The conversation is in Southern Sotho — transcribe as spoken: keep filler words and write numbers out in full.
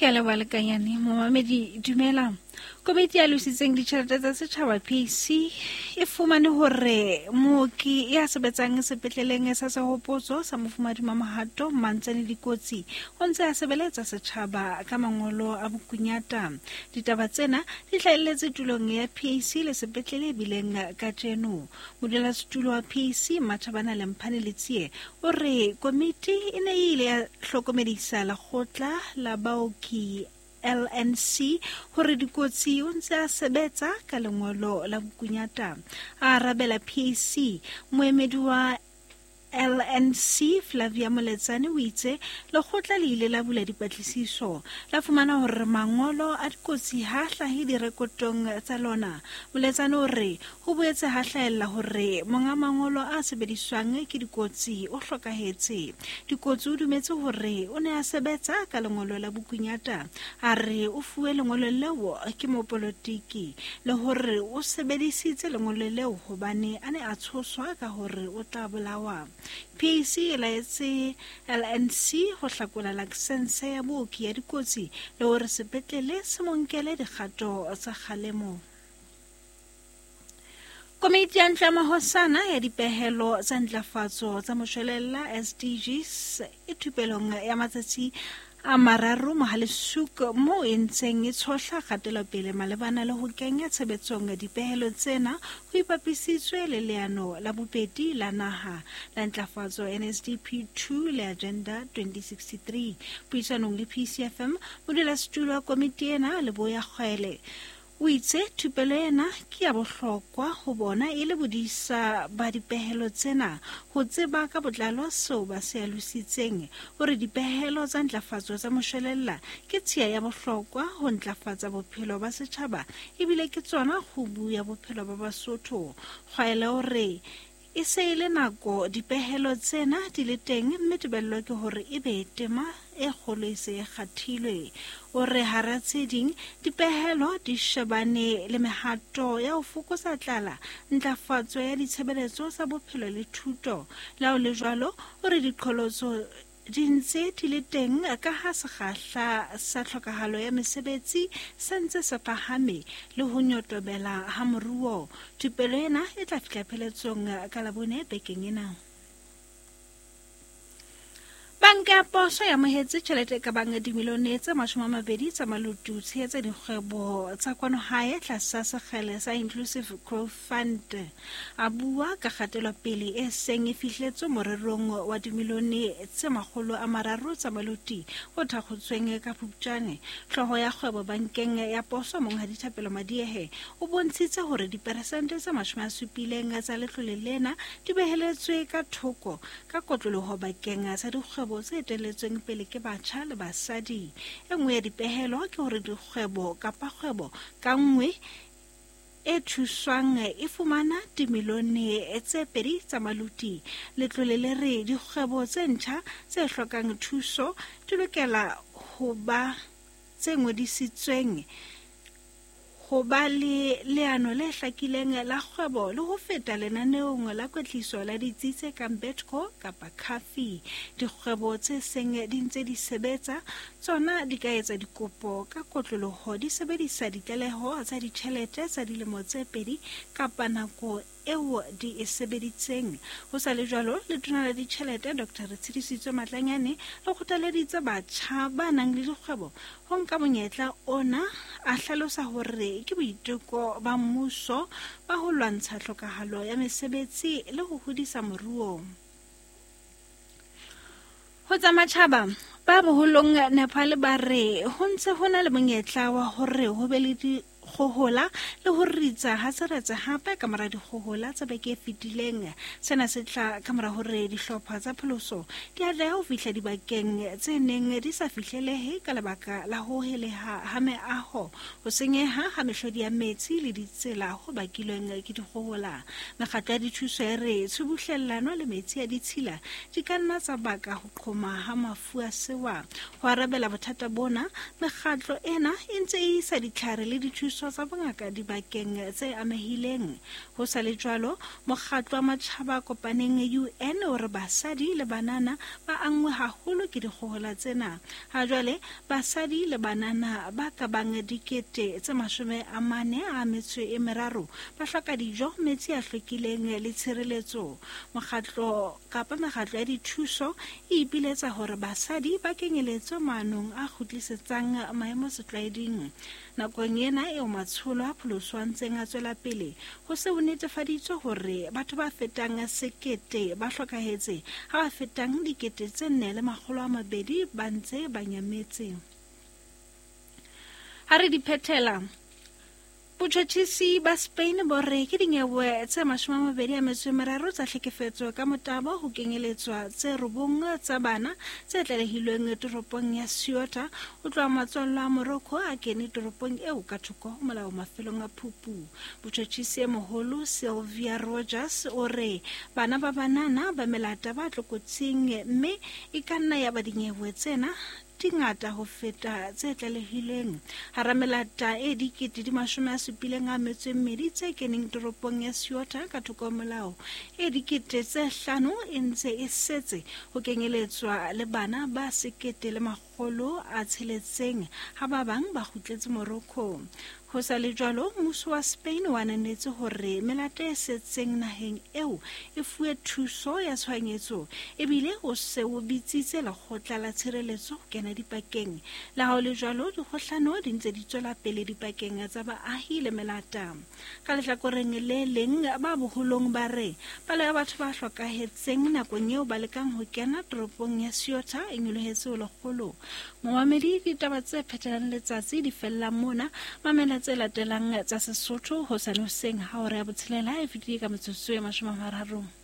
Ke a leboha lekanyane momamedi dumela. Komiti ya lositseng ditjhelete tsa setjhaba P C e fumane hore mooki ya sebetsang sepetleleng sa Sehopotso sa Mofumadi Mamohato Mmantsane Dikotsi o ntse a sebeletsa setjhaba ka mangolo a bokunyata. Ditaba tsena di hlahelletse tulong ya P C le sepetlele e bileng kajeno. Modulasetulo wa P C Mathabana Lemphane Letsie o re komiti e ne e ile ya hlokomedisa lekgotla la baoki L N C hore Dikotsi o ntse a sebetsa ka lengolo la bokunyata. A arabela P C, moemedi wa L N C Flavia Moletsane o itse lekgotla le ile la bula dipatlisiso la fumana hore mangolo a Dikotsi ha hlahe direkotong tsa lona. Moletsane o re ho boetse ha hlahella hore monga mangolo a sebediswang ke Dikotsi o hlokahetse. Dikotsi o dumetse hore o ne a sebetsa ka lengolo la bokunyata, a re o fuwe lengolo leo ke mopolotiki le hore o sebedisitse lengolo leo hobane a ne a tshoswa ka hore o tla bolawa. P C e laetse L N C ho hlakola lakesense ya booki ya Dikotsi le hore sepetlele se mo nkele dikgato tsa kgalemo. Komiti ya Ntlo ya Mahosana ya dipehelo tsa ntlafatso tsa moshwelella S D Gs e thupelong ya matsatsi a mararo Mohale'shoek moo e ntseng e tshohla kgatelopele malebana le ho kenya tshebetsong dipehelo tsena ho ipapisitswe le leano la bobedi la naha la ntlafatso N S D P two le Agenda twenty sixty-three. Puisanong le P C F M, modulasetulo wa komiti ena Leboya Kgwele o itse thupelo ena ke ya bohlokwa ho bona e le bodisa ba dipehelo tsena ho tseba ka botlalo seo ba se alositseng, hore dipehelo tsa ntlafatso tsa moshwelella ke tshiya ya bohlokwa ho ntlafatsa bophelo ba setjhaba ebile ke tsona kgubu ya bophelo ba Basotho. Kgwele o re e se e le nako dipehelo tsena di le teng mme tebello ke hore e be tema e kgolo e se e kgathilwe. O re hara tse ding dipehelo di shebane le mehato ya ho fokotsa tlala, ntlafatso ya ditshebeletso tsa bophelo le thuto. Le ha ho le jwalo, o re diqholotso di ntse di le teng ka ha sekgahla sa tlhokahalo ya mesebetsi se ntse se phahame le ho nyotobela ha moruo. Thupelo ena e tla fihla pheletsong ka Labone bekeng ena. Banka ya Poso e amohetse tjhelete e ka bang dimilione tse mashome a mabedi tsa maluti ho tshehetsa dikgwebo tsa kwano hae tlasa sekgele sa Inclusive Growth Fund. A bua ka kgatelopele e seng e fihletswe morerong wa dimilione tse makgolo a mararo tsa maluti o thakgotsweng ka Phupjane. Hlooho ya kgwebo bankeng ya Poso Monghadi Thapelo Madiehe o bontshitse hore diperesente tse mashome a supileng tsa letlole lena di beheletswe ka thoko ka kotloloho bakeng sa dikgwebo tse etelletsweng pele ke batjha le basadi. E nngwe ya dipehelo ke hore dikgwebo kapa kgwebo ka nngwe e thuswang e fumana dimilione tse pedi tsa maluti. Letlole le re dikgwebo tse ntjha tse hlokang thuso di lokela ho ba tse ngodisitsweng, ho ba le leano le hlakileng la kgwebo le ho feta lenaneong la kwetliso la ditsi tse kang Betco kapa Cafi. Dikgwebo tse seng di ntse di sebetsa tsona di ka etsa dikopo ka kotloloho di sebedisa ditlaleho tsa ditjhelete tsa dilemo tse pedi kapa nako eo di e sebeditseng. Ho sa le jwalo, letona la ditjhelete Doctor Retshidisitswe Matlanyane le kgothaleditse batjha ba nang le dikgwebo ho nka monyetla ona, a hlalosa hore ke boiteko ba mmuso ba ho lwantsha tlhokahalo ya mesebetsi le ho hodisa moruo. Ho tsa matjhaba, ba boholong Nepal ba re ho ntse ho na le monyetla wa hore ho be le dikgohola le ho ritsa ha seretse hape ka mora dikgohola tsa beke e fetileng. Sena se tla ka mora hore dihlopha tsa pholoso di atlehe ho fihla dibakeng tse neng di sa fihlelehe ka lebaka la ho heleha ha meaho, ho senyeha ha mehlodi ya metsi le ditsela ho bakilweng ke dikgohola. Mekgatlo ya dithuso e re tshubuhlellano le metsi a ditshila di ka nna tsa baka ho qhoma ha mafu a sewa. Ho arabela bothata bona, mekgatlo ena e ntse e isa ditlhare le dithuso dithuso tsa bongaka dibakeng tse amehileng. Ho sa le jwalo, mokgatlo wa matjhaba a kopaneng U N o re basadi le banana ba anngwe haholo ke dikgohola tsena. Ha jwale basadi le banana ba ka bang dikete tse mashome a mane a metso e meraro ba hloka dijo, metsi a hlwekileng le tshireletso. Mokgatlo kapa mekgatlo ya dithuso e ipiletsa hore basadi ba kenyeletswe maanong a kgutlisetsang maemo setlwaeding. Nakong ena eo matsholo a pholoso a ntseng a tswela pele, ho se ho netefaditswe hore batho ba fetang sekete ba hlokahetse, ha ba fetang dikete tse nne le makgolo a mabedi ba ntse ba nyametse. Ha re di phethela, botjhotjhisi ba Spain bo re ke dinyewe tse mashome a mabedi a metso e meraro tsa hlekefetso ka motabo ho kenyeletswa tse robong tsa bana tse tlalehilweng toropong ya Ceuta ho tloha matswallo a Morocco a kene toropong eo ka thoko ho molao mafelong a Phupu. Botjhotjhisi e moholo Sylvia Rogers o re bana ba banana ba melata ba tlokotsing mme e ka nna ya ba dinyewe tsena di ngata ho feta tse tlalehilweng. Hara melata e dikete di mashome a supileng a metso e mmedi tse keneng toropong ya Ceuta ka thoko ho molao, e dikete tse hlano e ntse e setse ho kenyeletswa le bana ba sekete le makgolo a tsheletseng ha ba bang ba kgutletse Morocco. Ho sa le jwalo, mmuso wa Spain o ananetse hore melata e setseng naheng eo e fuwe thuso ya tshohanyetso ebile o se o bitsitse lekgotla la tshireletso ho kena dipakeng. Le ha ho le jwalo, dikgohlano di ntse di tswela pele dipakeng tsa baahi le melata. Ka lehlakoreng le leng, ba boholong ba re palo ya batho ba hlokahetseng nakong eo ba lekang ho kena toropong ya Ceuta e nyolohetse ho lekgolo. Momamedi, ditaba tse phethelang letsatsi di fella mona. Mamela tse latelang tsa Sesotho hosane hoseng ha hora ya botshelela e fetile ka metsotso e mashome a mararo.